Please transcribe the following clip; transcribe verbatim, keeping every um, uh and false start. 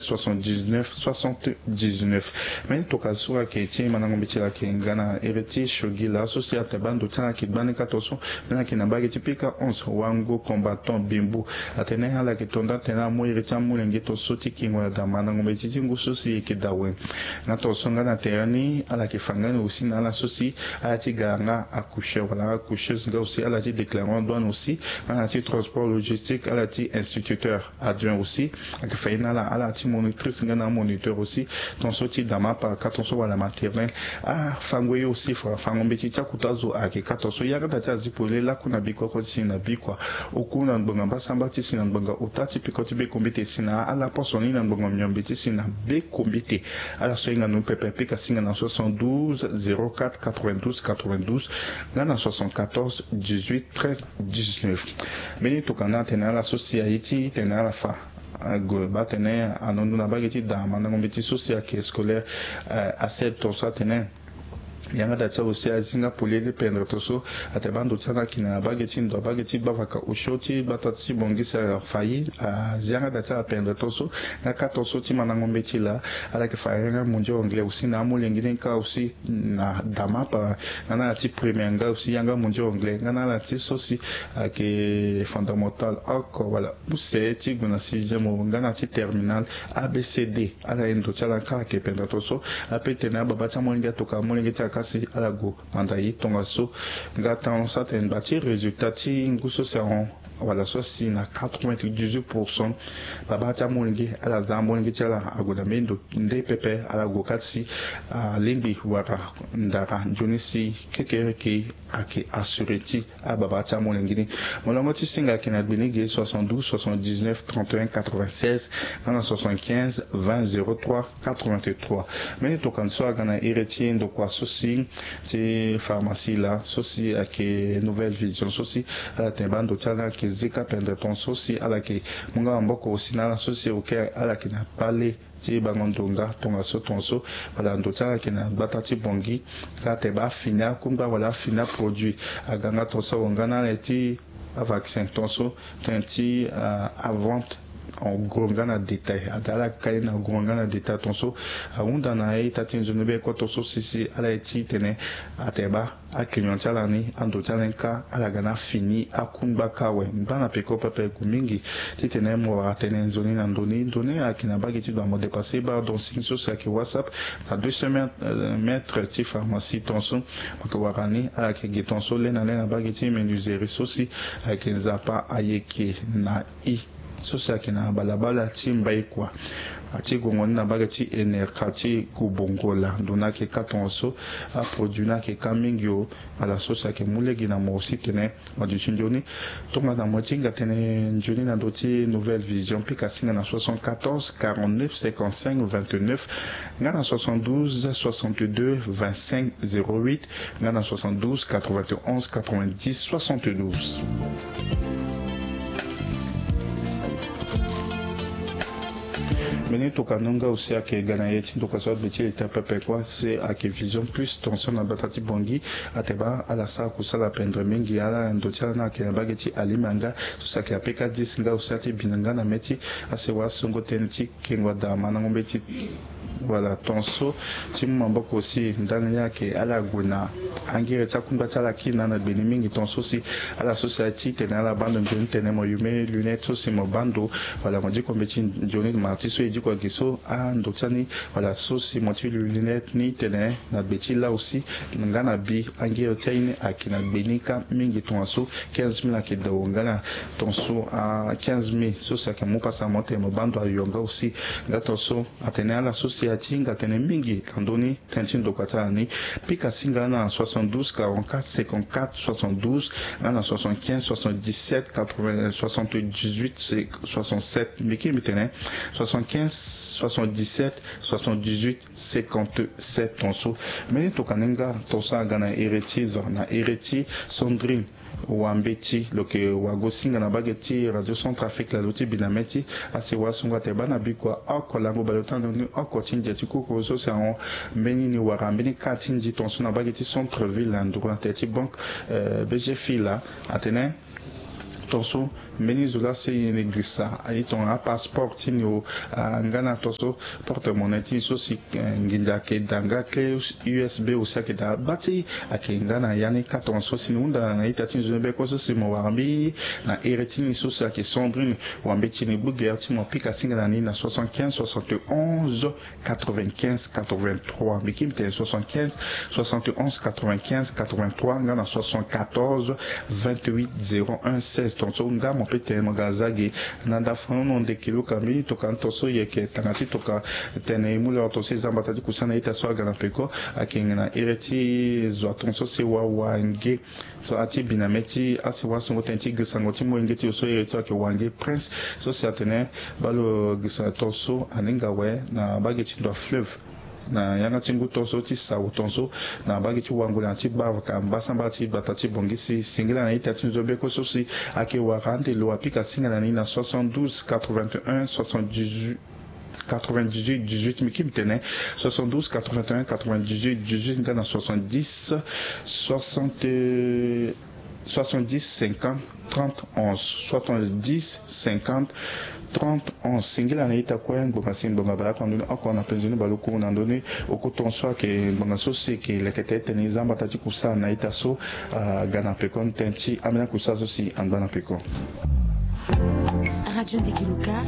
soixante-dix-neuf soixante-dix-neuf. Mbeni tokua so ayeke ti mandango mbeti laa ayeke nga na iri ti Shogi laa so si atene baa ndo ti ala ayeke gbani ka tongaso. Mbeni ayeke na mbage ti pika onze, Wango Combattant Bimbu. Atene ala yeke to nda atene ala mu iri ti amolenge tongaso ti kingo na daa mandango mbeti ti ngu so si e yeke daa awe. Nga tongaso nga na tere ni ala yeke fa nga ni aussi na ala so si ala ti ga nga accoucheur wala accoucheuse, nga aussi ala ti déclarant douane aussi, nga na ala ti transport logistique, ala ti instituteur adjoint aussi. Ayeke fa ye na ala, ala ti monitrice nga na amoniteur aussi. Tongaso ti daa mapa ka tongaso wala maternelle. Afango ye aussi, fa afango mbeti ti akuta azo ayeke ka tongaso. Yanga daa ti azi polele lakue na bikua, oko ti si na bikua, oku na ngbonga mbasamba ti si na ngbonga ota ti peko ti bekombite si na ala poso ni na ngbonga miombe ti si na bekombite. Ala so ahinga ndoni pepe apika singa na soixante-douze zéro quatre quatre-vingt-douze quatre-vingt-douze, nga na soixante-quatorze dix-huit treize dix-neuf. Mbeni tokua ni atene ala so si aye ti tene ala fa ague baa tene anondo na mbage ti daa mandango mbeti so si ayeke scolaire, eh, ased tongaso atene yanga daa ti azo si azi nga polele pendre tongaso. Atene baa ndo ti ala ayeke na mbage ti ndo, mbage ti gbavaka osio ti gbata ti Bangui si afa ye, azi yanga daa ti ala pendre tongaso. Nga ka tongaso ti mandango mbeti laa ala yeke fa yanga mondio anglais aussi na amolenge ni ka aussi na daa mapa, nga na ala ti première nga aussi yanga mondio anglais, nga na ala ti so si ayeke fondamental oko wala use ti gue na sixième nga na ala ti terminale A B C D. Ala ye ndo ti ala ka ayeke pendere tongaso. Ape tene ababa ti amolenge atoka amolenge ti ala ka si ala gue manda ye tongaso. Nga tongaso atene ba ti résultat ti ngu so si ahon wala so asi na quatre-vingt-dix-huit pour cent. Baba ti amolenge ala za amolenge ti ala ague na mbeni ndo nde pepe, ala gue ka si alingbi wara ndara nzoni si kekereke ayeke assuré ti ababa ti amolenge ni. Molongo ti singa ayeke na gbe ni ge, soixante-douze soixante-dix-neuf trente et un quatre-vingt-seize, nga na soixante-quinze vingt zéro trois quatre-vingt-trois. Mbeni tokua ni so aga na iri ti ndokua so si ti pharmacie laa so si ayeke Nouvelle Vision so si ala tene baa ndo ti ala ayeke zika pendere tongaso si ala yeke mu nga maboko aussi na ala so si oke ala yeke na kpale ti bango ndo nga tongaso tongaso. Wala ndo ti ala ayeke na gbata ti Bangui nga atene baa afini akungba wala afini aproduit aga nga tongaso awe nga na ala ti avaccin tongaso, tënë ti, ah, avente en gros nga na détail. Ada ala ka ye na gros nga na détail tongaso. Ahunda na a-ita ti nzoni be kue tongaso si si ala ye ti tene atene baa aclient ti ala ni, ando ti ala ni ka ala ga na afini akungba ka awe. Ngba na peko pepe gue mingi titene mo wara tënë nzoni na ndo ni. Ndo ni ayeke na mbage ti doit mo dépasser barre d'enseigne so si ayeke WhatsApp na deux cents mètres, euh, mètres ti pharmacie tongaso. Mo yeke wara ni ala yeke ge tongaso le na le na mbage ti menuiserie so si ayeke Nzapa ayeke na i so si ayeke na balabala ti Mbaïkwa. Ati gongo ni na mbage ti Enerka ti Gubongola. Ndo ni ayeke ka tongaso. Aproduit ni ayeke ka mingi o. Ala so si ayeke mu lege na mo aussi tene mo duti nzoni. Tongana mo ti hinga tënë nzoni na ndö ti Nouvelle Vision, pika singa na soixante-quatorze quarante-neuf cinquante-cinq vingt-neuf nga na soixante-douze soixante-deux vingt-cinq zéro huit, nga na soixante-douze quatre-vingt-onze quatre-vingt-dix soixante-douze. Mbeni tokua ni nga aussi ayeke ga na ye ti ndokua so aduti ita pepe kue si ayeke Vision Plus, tongaso na gbata ti Bangui. Atene baa ala sara kusala pendere mingi, ala ndo ti ala ni ayeke na mbage ti Alimanga so si ayeke A P K dix nga aussi ati bi na nga na mê ti asewa songo tënë ti kengo ada mandango mbeti. Voilà, tongaso ti mu maboko aussi ndani ni ayeke ala gue na angere ti akungba ti ala kina na gbe ni mingi tongaso si ala so si aye ti tene ala baa ndo nzoni tene mo yume lunette so si mo baa ndo. Voilà, mo diko mbeti nzoni ma ti so e diko agi so ando ti ani. Voilà, so si mo ti lunette ni tene na gbe ti la aussi nga na bi angere ti aye ni ayeke na gbe ni ka mingi tongaso. Quinze mille ayeke dao nga na tongaso, ah, quinze mille so si ayeke mu pasa mo tene mo baa ndo ayo nga aussi. Nga tongaso atene ala so si aye ti hinga tënë mingi na ndö ni tënë ti ndokua ti ala ni, pika singa na soixante-douze quarante-quatre cinquante-quatre soixante-douze, nga na soixante-quinze soixante-dix-sept quatre-vingts soixante-dix-huit soixante-sept. Mbi kiri mbi tene soixante-quinze soixante-dix-sept soixante-dix-huit cinquante-sept tongaso. Mbeni tokua ni nga tongaso aga na iri ti zo na iri ti Sandrine Wambeti, lo yeke wago singa na mbage ti Radio Centrafrique laa lo ti bi na mê ti asewa songo atene baa na bikua oko lango baleota ndo ni oko ti ndia ti kukuru so si ahon mbeni ni wara mbeni ka ti nzi tongaso na mbage ti centre ville na nduru na tere ti banque, euh, B G F I laa. Atene Tonso mbeni zo laa si e girisa aye tongana apasseport ti ni o, ah, nga na tonso porte-monnaie ti ni so si, eh, nginza ayeke daa nga clé U S B aussi ayeke daa. Baa ti ayeke nga na ya ni kâ tongaso si ni hunda na ita ti ni zo ni be kue so si mo wara mbi na iri ti ni so si ayeke Sandrine Wambeti ni gbu gere ti mo pika singa na ni na soixante-quinze soixante-onze quatre-vingt-quinze quatre-vingt-trois. Mbi ki mbi tene soixante-quinze soixante-onze quatre-vingt-quinze quatre-vingt-trois nga na soixante-quatorze vingt-huit zéro un seize. Tongaso nga mo pe tene mo ga za ge na ndafanono ndeke luka mbeni tokua tongaso yeke tanga ti tokua tene e mu lere tongaso e za mbata ti kusa na ita so aga na peko. Ayeke na iri ti zo atongaso si e wawa nge so ati bi na mê ti asiwa songo tënë ti girisango ti molenge ti lo so iri ti lo ayeke Wange Prince so si atene baa lo girisa tongaso aninga awe na bage ti ndo ya fleuve na yanga ti ngu tongaso ti sawu tongaso na bage ti wango na ti bavaka mbasambala ti gbata ti Bongisi. Singila na ita ti nzo be kue so si ayeke wara ande lo apika singa na ni na soixante-douze quatre-vingt-un soixante-dix-huit quatre-vingt-dix-huit dix-huit. Mbi ki mbi tene soixante-douze quatre-vingt-un quatre-vingt-dix-huit dix-huit nga na soixante-dix soixante soixante-dix cinquante trente onze, soixante-dix cinquante trente onze. Singila na ita kue, ngbonga si ngbonga baleoko na ndoni oko na penze ni baleoko na ndoni. Oko tongaso ayeke ngbonga so si eke lekete ti tene e za mbata ti kusa na ita so aga na peko ni tënë ti ambeni akusa so si angba na peko. Radio Ndeke Luka.